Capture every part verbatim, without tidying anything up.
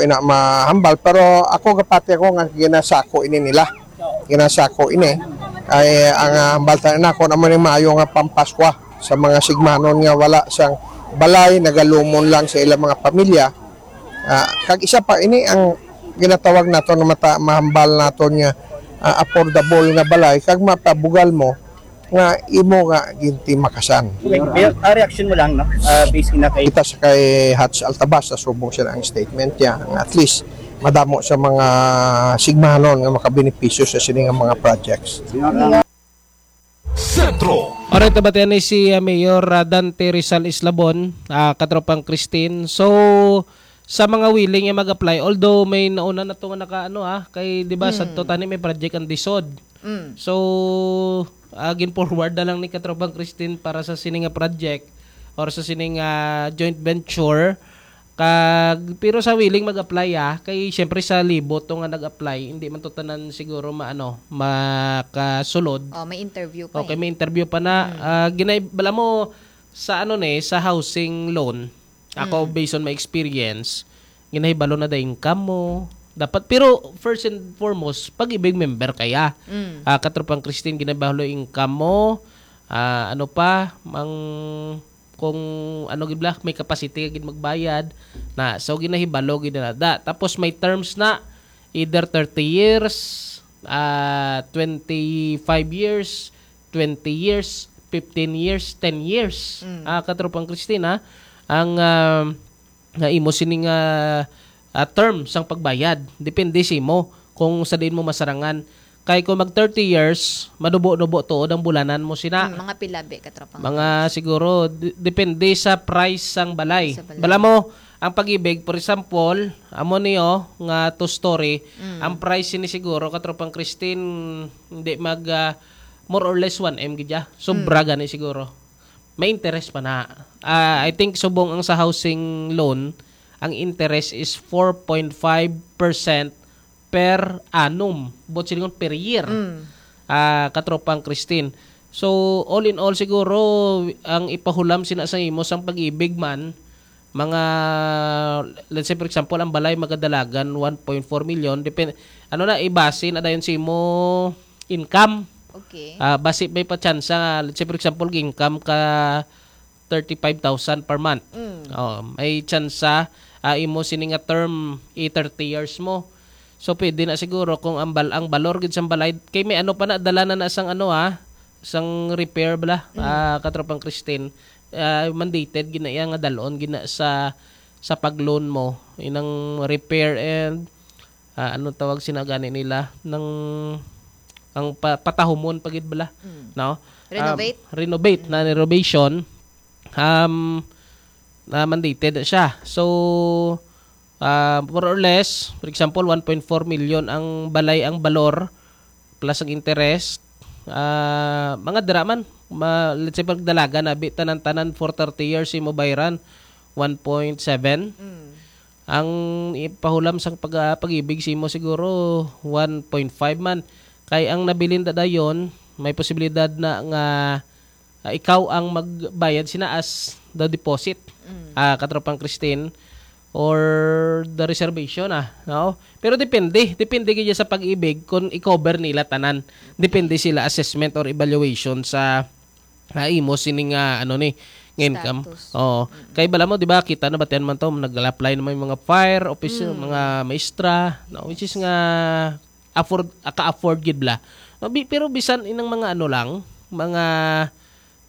ina mahambal, pero ako gapati ako nga ginasako ini nila. Ginasako ini. Ay ang, ah, hambal ta nako na mo ni maayo nga pampaskwa sa mga sigmanon nga wala sang balay, nagalumon lang sa ilang mga pamilya. Ah, kag isa pa ini ang ginatawag nato nga mata-, mahambal naton nga, ah, affordable nga balay kag mapabugal mo nga imo nga gintimakasan. Okay, Mayor, ah, reaction mo lang, no? Ah, based na kay Kita sa kay Hats Altabas, sa subong siya ang statement niya. Nga at least, madamo sa mga sigmanon nga makabenepisyo sa sini nga mga projects. Sentro. Alright, nabatian ni si, ah, Mayor, ah, Dante Rizal Islabon, ah, katropang Christine. So, sa mga willing nga mag-apply, although may nauna na to nga naka, ano, ah, kay, di ba, sa Mm. to tani may project ang DISOD. Mm. So, ah, gin-forward na lang ni katropang Christine para sa sini nga project or sa sini nga joint venture. Kag, pero sa willing mag-apply, ah, kay siyempre sa libo to nga nag-apply, hindi man to tanan siguro maano, makasulod. Oh, may interview pa Okay, eh. may interview pa na. Mm. Ah, ginay-, bala mo, sa ano ni, sa housing loan, ako, Mm. based on my experience, ginahibalo na da income mo. Dapat, pero first and foremost, Pag-ibig member kaya. Mm. Ah, katropang Christine, ginahibalo income mo. Ah, ano pa, mang, kung ano gid bala, may capacity ka gid magbayad. Na, so, ginahibalo gid na da. Tapos may terms na, either thirty years, ah, twenty-five years, twenty years, fifteen years, ten years. Mm. Ah, katropang Christine, ha? Ang, ah, nga imo sining, ah, ah, term sang pagbayad. Depende sa imo kung sa diin mo masarangan. Kay kung mag thirty years, manubo-nubo tuod ang bulanan mo sina. Mm, mga pila, be, katropang Mga Christine? siguro, de-, depende sa price sang balay. Sa balay. Bala mo, ang Pag-ibig, for example, amo niyo nga two-story, Mm. ang price ni siguro, katropang Christine, hindi mag, ah, more or less one M gid ya. Sobra Mm. gani siguro. May interest pa na. Ah, I think subong ang sa housing loan, ang interest is four point five percent per annum. Buot silingon, per year. Mm. Ah, katropang Christine. So, all in all, siguro, ang ipahulam sina sa imo sang Pag-ibig man, mga, let's say, for example, ang balay magadalagan one point four million, depend, ano na, ibase na dayon sa imo income. Okay. Ah, basi may pa tsansa, let's say, for example, income ka thirty-five thousand per month. Mm. Oh, may tsansa, ah, imo sini nga term, i thirty years mo. So, pwede na siguro kung ang bal-, ang balor gid sang balay, kay may ano pa na, dala na na sang ano, ah, sang repair bala, Mm. ah, katropang Christine, ah, mandated gid na iya nga dalon gid na sa, sa pag-loan mo, inang repair and, ah, ano tawag sina gani nila, nang, ang pa-, patahumon pa gid bala, Mm. no? Renovate? Um, renovate, Mm. na renovation, um, na mandated na siya. So, ah, more or less, for example, one point four million ang balay, ang balor, plus ang interest. Ah, mga dira man, ma-, let's say, pag dalaga na, bi-, tanan-tanan for thirty years, imo bayran, one point seven. Mm. Ang ipahulam sang pag-, ah, Pag-ibig sa imo siguro, one point five man. Kay ang nabilin da dayon, may posibilidad na nga, ah, ikaw ang magbayad sina as the deposit. Mm. Ah, katropang Christine, or the reservation, ah, no? Pero depende, depende gid sa Pag-ibig kung i-cover nila tanan. Depende sila assessment or evaluation sa, ah, imo sining, ah, ano ni, nga income. Status. Oo. Mm. Kay bala mo, di ba, kita na batian man to, nag-apply naman yung mga fire officer, Mm. mga maestra, no? Which is nga afford, ka-afford gid bala. No, bi-, pero bisan inang mga ano lang, mga,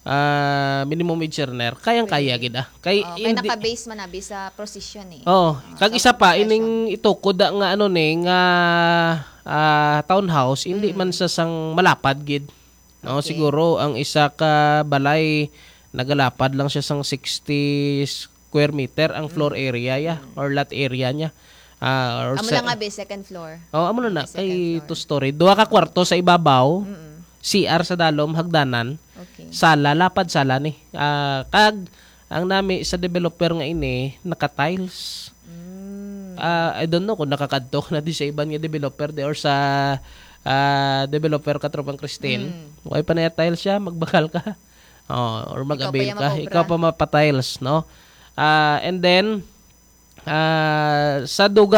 ah, minimum wage earner, kayang-kaya Pwede. gid, ah. Kay Oh, kay hindi naka-base man abi sa position, eh. Oh, Oh, kag sa isa pa, profession. ining itukod da nga ano ni, nga, ah, townhouse, hindi Mm. man sa sang malapad gid. No, Okay. siguro ang isa ka balay nagalapad lang siya sang sixty square meter ang floor Mm. area ya, Mm. or lot area niya. Ah, or Amo sa lang nga, be, second floor. Oh, amo na na, Second kay floor. two story. Duha ka kwarto sa ibabaw, Mm. C R sa dalom, hagdanan, Okay. sala, lapad sala ni. Ah, kag ang nami sa developer nga ini, naka-tiles. Mm. Ah, I don't know kung nakakadto ka na di sa iban nga developer di or sa, ah, developer ka, Tropang Christine. Mm. Why pa na tiles siya? Magbakal ka. Oh, or Ikaw pa mag-avail yung ka. makobra. Ikaw pa mapa-tiles, no? Ah, and then, ah, sa dugang